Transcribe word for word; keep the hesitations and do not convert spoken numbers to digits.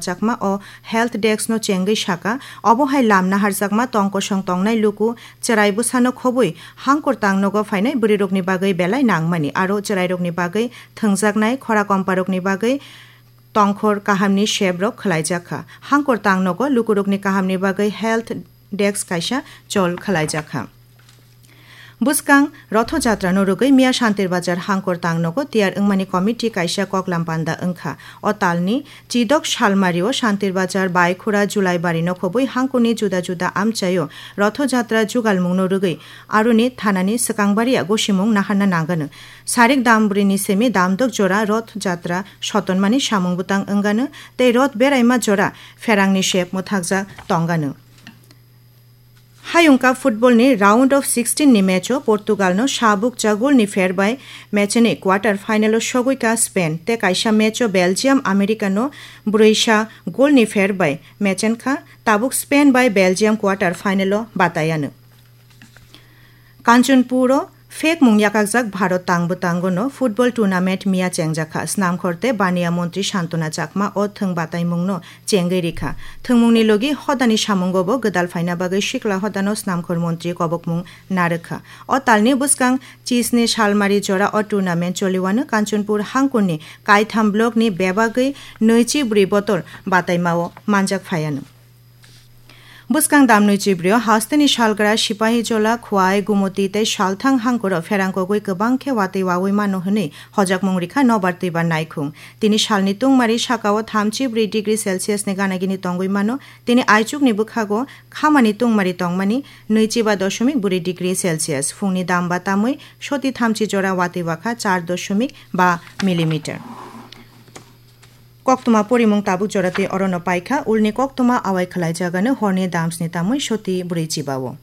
Chakma o Health Desk no chengwi saka, obo hai lam naharjakma tong kosong tongnai luku chwrai bwsano khobwi hangkur tang nogo phainai bwrwirokni bagwi belai nangmani, aro chwrairokni bagwi thwngjaknai khora komparokni bagwi tongkhor kahamni sebrok khwlaijakha. Hangkur tang nogo lukurokni kahamni bagwi Health Desk kaisa chol khwlaijakha. Bwskang Rotho Jatra no rwgwi miya Shantir Bazar hangkor tang nogo tiyar wngmani committee kaisa koklam panda wngkha. O talni Chidok Salmari o Shantir Bazar, Baikhura, Julaibari no khobwi hangkoni juda juda amchaio Rotho Jatra jugalmung no rwgwi aroni thanani swkang baria gosimung naharna nangano. Sarik dam bwrwi ni simi damdok jora Roth Jatra sotonmani samung bwtang wngano tei Roth beraima jora pherangni sep mwthakjak tongano. Hayung Cup football ni round of sixteen ni match o Portugal no sabuk cha goal ni pher bai match ni quarter final o sogwi ka Spain, tei kaisa match o Belgium America no brwi sa goal ni pher bai match kha, tabuk Spain bai Belgium quarter final o batayano. Kanchanpur o phek mung yakakjak Bharat tang bwtango no football tournament miya chengjakha. Snamkhor tei baniya montri Santona Chakma o thwng bataimung no chengwi rikha. Thwngmungni logi hodani samungo bo gwdal phaina bagwi sikla hodano snamkhor montri kobokmung narwkha. O talni bwskang chisni salmari jora o tournament choliwano Kanchanpur hangkurni kaitham block ni bebagwi nwichi bwrwi botol bataimao manjak phaiano. Bwskang damnwi chibrio hasteni salgra Sipahijola, Khwai, Gumoti tei Salthang hangkoro pherangkogwi kwbang khe watwi wawi mano hwnwi hojakmung rikha nobar twibar naikhung. Tini salni tungmari sakao thamchi bwrwi degree Celsius ni ganagini tongwi mano. Tini aichukni bwkhago khamani tungmari tongmani nwichi ba doshomik bwrwi degree Celsius. Phungni dam ba tamwi soti thamchi jora watwi wakha char doshomik ba millimeter. Koktwma porimung tabuk jora twi orono paikha, ulni koktwma awai khwlaijagano horni damsni tamwi soti bwrwi chibao.